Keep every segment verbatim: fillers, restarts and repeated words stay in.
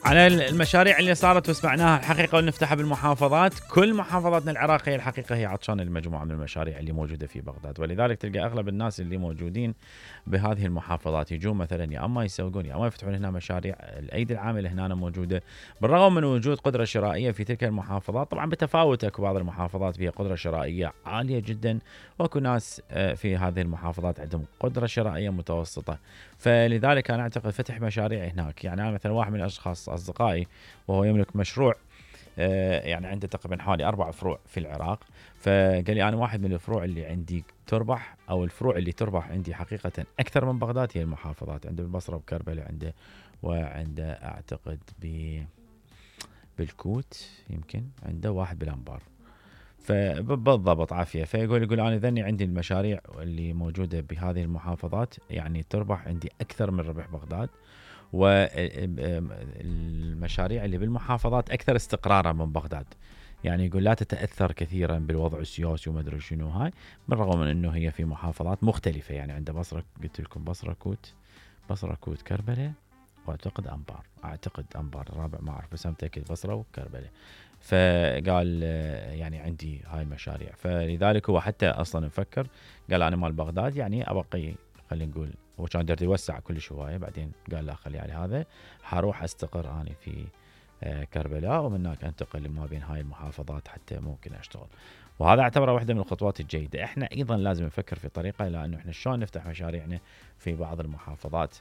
على المشاريع اللي صارت وسمعناها الحقيقة ونفتحها بالمحافظات. كل محافظاتنا العراقية الحقيقة هي عطشانة المجموعة من المشاريع اللي موجودة في بغداد، ولذلك تلقى أغلب الناس اللي موجودين بهذه المحافظات يجون مثلا يا أما يسوقون يا أما يفتحون هنا مشاريع. الأيدي العاملة هنا موجودة بالرغم من وجود قدرة شرائية في تلك المحافظات، طبعا بتفاوت. اكو بعض المحافظات فيها قدرة شرائية عالية جدا، واكو ناس في هذه المحافظات عندهم قدرة شرائية متوسطة. فلذلك أنا أعتقد فتح مشاريع هناك. يعني أنا مثلا واحد من الأشخاص أصدقائي وهو يملك مشروع، يعني عنده تقريبا حوالي أربع فروع في العراق، فقال لي أنا واحد من الفروع اللي عندي تربح، أو الفروع اللي تربح عندي حقيقة أكثر من بغداد هي المحافظات. عنده بالبصرة وكربلاء عنده، وعنده أعتقد ب بالكوت يمكن عنده واحد بالأنبار. فبالضبط عافية. فيقول يقول أنا ذني عندي المشاريع اللي موجودة بهذه المحافظات يعني تربح عندي أكثر من ربح بغداد، والمشاريع اللي بالمحافظات أكثر استقرارا من بغداد. يعني يقول لا تتأثر كثيرا بالوضع السياسي وما أدري شنو هاي، بالرغم من أنه هي في محافظات مختلفة. يعني عنده بصرة، قلت لكم بصرة كوت، بصرة كوت كربلاء، واعتقد أنبار، أعتقد أنبار الرابع ما أعرف بس متأكد بصرة وكربلاء. فقال يعني عندي هاي المشاريع، فلذلك هو حتى أصلا مفكر قال أنا مال بغداد يعني أبقي، خلينا نقول هو كان درد يوسع كل شوية، بعدين قال لا خلي على هذا، حروح أستقر أنا في كربلاء ومن هناك أنتقل ما بين هاي المحافظات حتى ممكن أشتغل. وهذا اعتبره واحدة من الخطوات الجيدة. احنا أيضا لازم نفكر في طريقة لأنه احنا شلون نفتح مشاريعنا في بعض المحافظات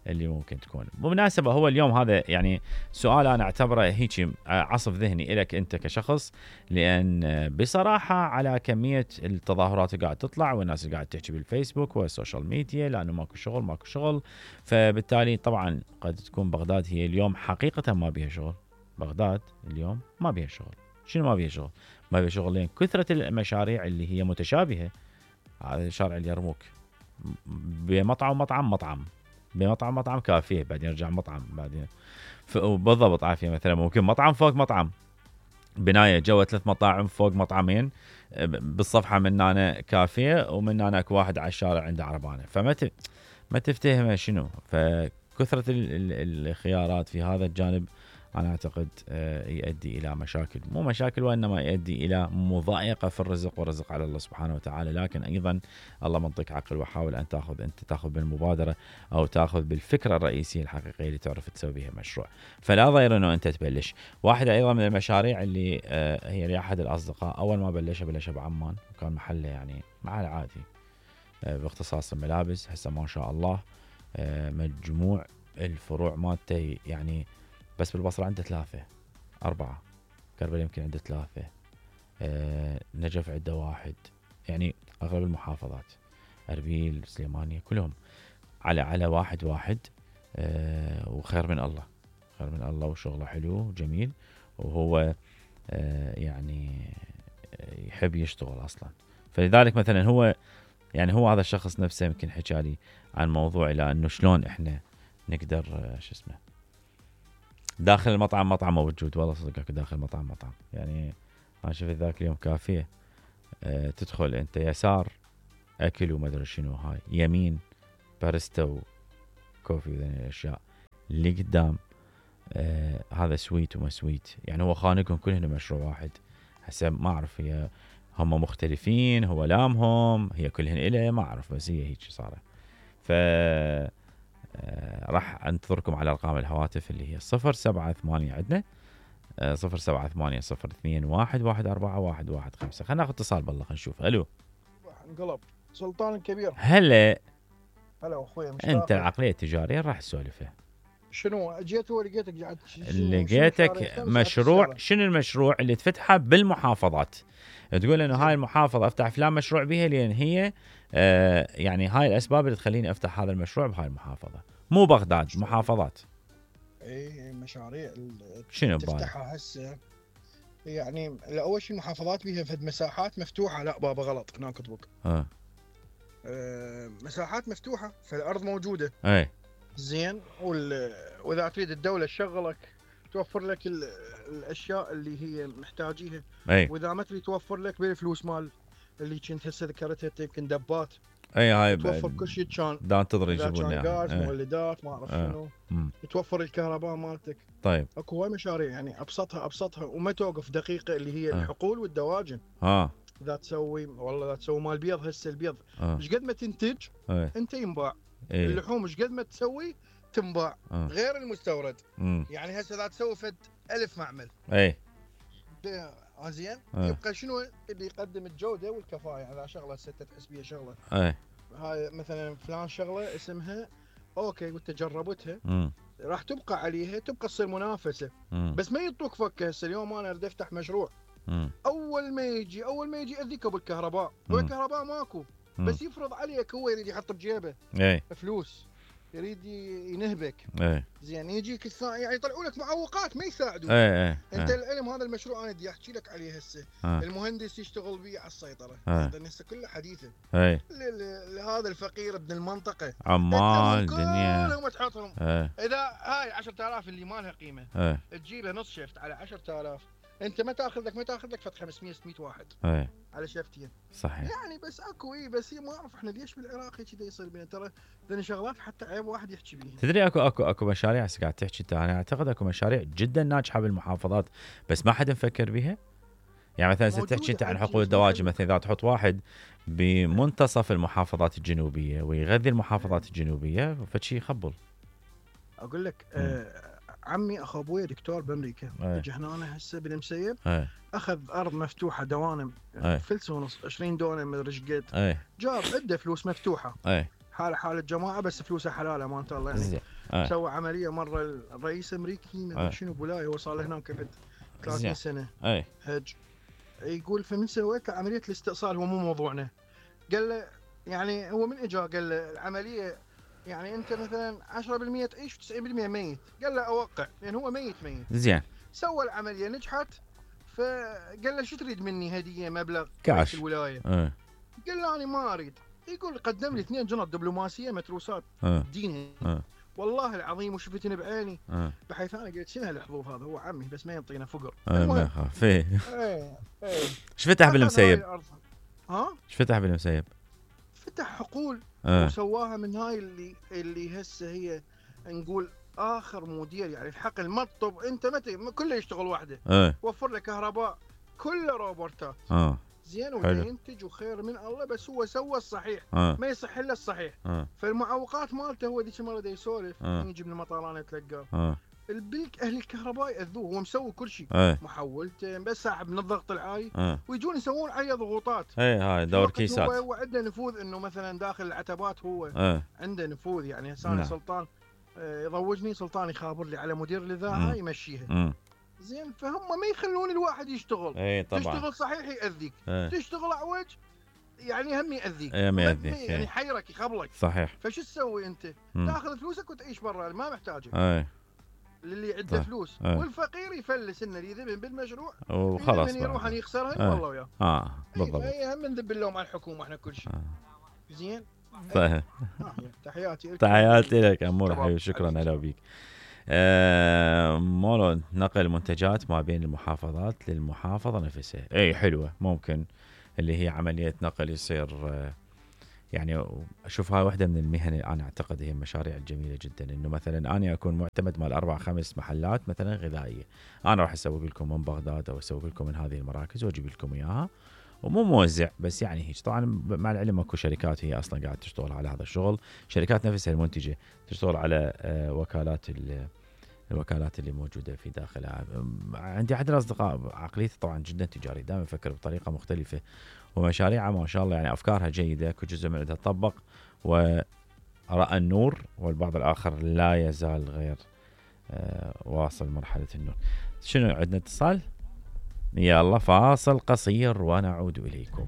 اللي ممكن تكون. بمناسبة هو اليوم هذا يعني سؤال أنا أعتبره هيك عصف ذهني إلك أنت كشخص، لأن بصراحة على كمية التظاهرات اللي قاعد تطلع والناس اللي قاعد تحكي بالفيسبوك والسوشيال ميديا لأنه ماكو شغل ماكو شغل، فبالتالي طبعا قد تكون بغداد هي اليوم حقيقة ما بيها شغل. بغداد اليوم ما بيها شغل. شنو ما بيها شغل؟ ما بيها شغل لأن كثرة المشاريع اللي هي متشابهة. هذا شارع اليرموك بمطعم مطعم مطعم بمطعم مطعم كافيه، بعدين يرجع مطعم، بعدين بالضبط عافية. مثلا ممكن مطعم فوق مطعم، بناية جوا ثلاث مطاعم فوق مطعمين، بالصفحة من هنا كافيه ومن هنا اكو واحد على الشارع عنده عربانة. فما ت... ما تفتهم شنو. فكثرة الخيارات في هذا الجانب أنا أعتقد يؤدي إلى مشاكل، مو مشاكل وإنما يؤدي إلى مضايقة في الرزق، والرزق على الله سبحانه وتعالى. لكن أيضا الله منطق عقل، وحاول أن تأخذ أنت تأخذ بالمبادرة أو تأخذ بالفكرة الرئيسية الحقيقية اللي تعرف تسوي بها مشروع. فلا ضير أنه أنت تبلش. واحدة أيضا من المشاريع اللي هي لأحد الأصدقاء أول ما بلشها بلشها بعمان، وكان محله يعني محل عادي باختصاص الملابس. هسه ما شاء الله مجموع الفروع مالته يعني بس بالبصرة عنده ثلاثة أربعة، كربلاء يمكن عنده ثلاثة، آه نجف عنده واحد. يعني أغلب المحافظات أربيل سليمانية كلهم على على واحد واحد. آه وخير من الله، خير من الله، وشغله حلو جميل، وهو آه يعني يحب يشتغل أصلا. فلذلك مثلا هو يعني هو هذا الشخص نفسه يمكن حكالي عن موضوع إلى أنه شلون إحنا نقدر آه شو اسمه داخل المطعم مطعم موجود. والله صدقك داخل المطعم مطعم. يعني أنا شفت ذاك اليوم كافيه، أه تدخل أنت يسار أكل وما أدري شنو، هاي يمين باريستا وكوفي وذني الأشياء، اللي قدام أه هذا سويت وما سويت. يعني هو خانقهم كلهم مشروع واحد. هسه ما أعرف هي هم مختلفين، هو لامهم هي كلهن إله ما أعرف، بس هي هيك صارت. ف آه راح انتظركم على ارقام الهواتف اللي هي صفر سبعة ثمانية عندنا آه صفر سبعة ثمانية صفر اثنين واحد واحد أربعة واحد واحد خمسة. خلينا ناخذ اتصال بالله خلينا نشوف. الو انقلب سلطان الكبير. هلا هلا اخوي مشتاق. انت العقليه التجاريه راح تسولفها. شنو جيت ولقيتك قاعد لقيتك مشروع. شنو المشروع اللي تفتحه بالمحافظات؟ تقول انه هاي المحافظه افتح فلان مشروع بها لان هي آه يعني هاي الاسباب اللي تخليني افتح هذا المشروع بهاي المحافظه، مو بغداد مشروع. محافظات اي مشاريع شنو تفتحها هسه يعني اول شيء المحافظات بيها فد مساحات مفتوحه. لا بابا غلط هنا كتبك اه. آه مساحات مفتوحه فالارض موجوده اي زين، واذا تريد الدوله تشغلك توفر لك الاشياء اللي هي محتاجيها. أي. واذا ما تريد توفر لك بالفلوس مال اللي كنت هسه ذكرتها يمكن دبات اي هاي توفر كل شيء. كان دا انتظر إذا يجيبون كان لنا غاز مولدات ما اعرف آه. شنو، مم. توفر الكهرباء مالتك. طيب اكو هواي مشاريع يعني ابسطها ابسطها وما توقف دقيقه، اللي هي آه. الحقول والدواجن. ها اذا تسوي والله اذا تسوي مال بيض، هسه البيض آه. ايش قد ما تنتج ايه انت ينباع. ايه اللحوم ايش قد ما تسوي تنباع آه. غير المستورد. مم. يعني هسه اذا تسوي فد ألف معمل ايه آه زين، آه. يبقى شنو اللي يقدم الجوده والكفاءه. على شغله ستة تحس بيها شغله، ايه هاي مثلا فلان شغله اسمها اوكي وانت جربتها مم. راح تبقى عليها، تبقى تصير منافسه. مم. بس ما يعطوك فكه. هسه اليوم انا اريد افتح مشروع، مم. اول ما يجي اول ما يجي ياذيك ابو الكهرباء. مم. هو الكهرباء ماكو، مم. بس يفرض عليك. هو يريد يحط بجيبه ايه فلوس، يريد ينهبك. ايه زين يجيك الثاني يعني يطلعوا لك معوقات ما يساعدوك. ايه ايه انت ايه. العلم هذا المشروع انا بدي احكي لك عليه هسه. آه. المهندس يشتغل بيه على السيطره، آه. لان هسه كله حديثه. ايه لهذا الفقير ابن المنطقه عمال دنيا كلهم تحطهم. ايه اذا هاي عشرة آلاف اللي ما لها قيمه ايه تجيبها نص شفت على عشرة آلاف، انت ما تاخذ لك ما تاخذ لك فت خمسمية ستمية واحد ايه على شفتين. صحيح. يعني بس اكو اي بس هي ما اعرف احنا ليش بالعراق كذا يصير بينا. ترى ذني شغلات حتى عيب واحد يحكي بيها. تدري اكو اكو اكو مشاريع هسه قاعد تحكي انت، انا اعتقد اكو مشاريع جدا ناجحه بالمحافظات بس ما حد مفكر بها. يعني مثلا هسه تحكي انت عن حقول الدواجن، مثلا اذا تحط واحد بمنتصف المحافظات الجنوبيه ويغذي المحافظات الجنوبيه فشي يخبل. اقول لك آه عمي اخو ابوي دكتور بامريكا، اجى هنا أنا هسه بالمسيب ايه اخذ ارض مفتوحه دوانم أي. فلس ونص عشرين دونم مدري ايش قد، ايه جاب عنده فلوس مفتوحه ايه حاله حال الجماعه بس فلوسها حلاله ما الله يعني. زين ايه سوى عمليه مره الرئيس الامريكي أي. ما شنو بولايه، هو صار له هناك بعد ثلاثين سنه ايه هج. يقول فمن سويت له عمليه الاستئصال، هو مو موضوعنا. قال له يعني هو من اجا قال له العمليه يعني انت مثلا عشرة بالمية تعيش وتسعين بالمية ميت. قال له اوقع لان هو ميت ميت. زين سوى العمليه نجحت، فقال له شو تريد مني هديه مبلغ كاش الولايه؟ ايه قال له انا ما اريد. يقول قدم لي اثنين جنط دبلوماسيه متروسات ايه دينها ايه والله العظيم وشفتني بعيني. ايه بحيث انا قلت شنو هالحظوظ هذا، هو عمي بس ما ينطينا فقر. ايه ما يخاف ايه. ايه ايه ايش فتح بالمسيب؟ ها ايش فتح بالمسيب؟ فتح حقول ايه وسواها من هاي اللي اللي هسه هي نقول اخر مدير يعني الحقل مطب. انت متى كله يشتغل وحده، ايه وفر له كهرباء كله روبوتات اه زين وينتج وخير من الله. بس هو سوى الصحيح، اه ما يصح الا الصحيح. اه فالمعوقات مالته هو ذيك المره دا يسولف آه. يجي من المطارانه يتلقاه اه البلك اهل الكهرباء ياذوه. هو مسوي كل شيء، ايه محولته بس ساحب من الضغط العالي، اه ويجون يسوون عليه ضغوطات. ايه هاي دور هو كيسات هو عنده نفوذ انه مثلا داخل العتبات هو ايه عنده نفوذ. يعني هسه أنا نعم. سلطان آه، يضوجني سلطان يخابر لي على مدير الاذاعه مم. يمشيها امم زين. فهم ما يخلون الواحد يشتغل. ايه طبعا تشتغل صحيح ياذيك، ايه تشتغل اعوج يعني هم ياذيك. ايه ما يأذيك، يعني ايه. يحيرك يخبلك. صحيح. فشو تسوي انت؟ مم. تاخذ فلوسك وتعيش برا ما محتاجه ايه للي عنده طيب. فلوس. ايه. والفقير يفلس انه يذبن بالمشروع وخلاص من يروح بقى. يخسرها ايه. والله وياه. اه إيه، بالضبط. فهي هم نذب اللوم على الحكومه احنا كل شيء. آه. زين طيب تحياتي لك. تحياتي لك امور شباب. حبيبي، شكرا حبيبي. هلا بيك. آه مولو نقل منتجات ما بين المحافظات للمحافظه نفسها، اي حلوه ممكن اللي هي عمليه نقل يصير. آه يعني اشوفها واحده من المهن اللي انا اعتقد هي المشاريع الجميله جدا، انه مثلا انا اكون معتمد مال اربع خمس محلات مثلا غذائيه، انا راح اسوق لكم من بغداد او اسوق لكم من هذه المراكز واجيب لكم اياها، ومو موزع بس يعني هيك. طبعا مع العلم اكو شركات هي اصلا قاعده تشتغل على هذا الشغل، شركات نفسها المنتجه تشتغل على آه وكالات الوكالات اللي موجوده في داخلها. عندي احد الاصدقاء عقليته طبعا جدا تجاري، دائما يفكر بطريقه مختلفه، ومشاريعها ما شاء الله يعني افكارها جيده، كل جزء من عندها تطبق وراى النور، والبعض الاخر لا يزال غير آه واصل مرحله النور. شنو عندنا اتصال؟ يلا فاصل قصير ونعود اليكم.